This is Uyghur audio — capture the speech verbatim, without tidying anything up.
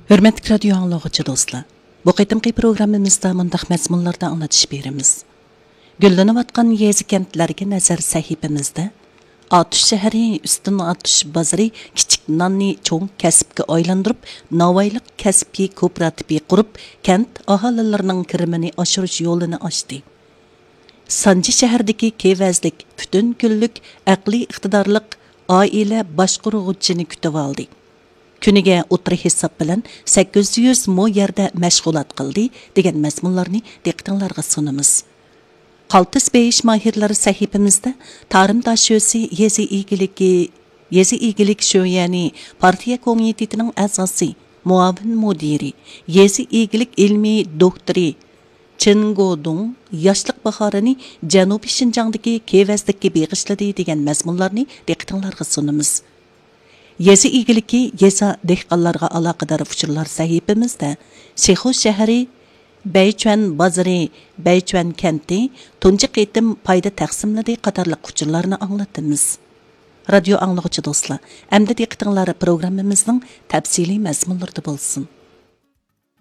ھۆرمەتلىك رادىيو ئاڭلىغۇچى دوستلار، بۇ قېتىمقى پروگراممىمىزدا مۇنداق مەزمۇنلاردا ئاڭلىتىش بېرىمىز. گۈللىنىۋاتقان يېزا-كەنتلەرگە نەزەر سەھىپىمىزدە ئاتۇش شەھىرى ئۈستۈن ئاتۇش بازىرى كىچىك ناننى چوڭ كەسىپكە ئايلاندۇرۇپ، ناۋايلىق كەسىپكە كوپىراتىپى قۇرۇپ، كەنت ئاھالىلىرىنىڭ كىرىمىنى ئاشۇرۇش يولىنى ئاچتى. سانجى شەھىرىدىكى كېۋەزلىك پۈتۈن كۈنلۈك ئەقلىي ئىقتىدارلىق ئائىلە باشقۇرغۇچىنى كۈتۈۋالدى. كۈنىگە ئوتتۇرا ھېساب بىلەن سەككىز يۈز مو يەردە مەشغۇلات قىلدى، دېگەن مەزمۇنلارنى دىققىتىڭلارغا سۇنىمىز. قالتىس بېيىش ماھىرلىرى سەھىپىمىزدە تارىم داشۆسى يېزا ئىگىلىكى، يېزا ئىگىلىك شۆيەنى پارتىيە كومىتېتىنىڭ ئەزاسى، مۇئاۋىن مۇدىرى، يېزا ئىگىلىك ئىلمىي دوكتورى چېن گودۇڭ ياشلىق باھارىنى جەنۇبىي شىنجاڭدىكى كېۋەزلىككە بېغىشلىدى، دېگەن مەزمۇنلارنى دىققىتىڭلارغا سۇنىمىز. يېزا ئىگىلىكى، يېزا، دېھقانلارغا ئالاقىدار ئۇچۇرلار سەھىپىمىزدە شىخۇ شەھىرى، بەيچۈەن بازىرى، بەيچۈەن كەنتى تۇنجى قېتىم پايدا تەقسىملىدى قاتارلىق ئۇچۇرلارنى ئاڭلىتىمىز. رادىيو ئاڭلىغۇچى دوستلار، ئەمدى دىققىتىڭلار پروگراممىمىزنىڭ تەپسىلىي مەزمۇنلىرىدا بولسۇن.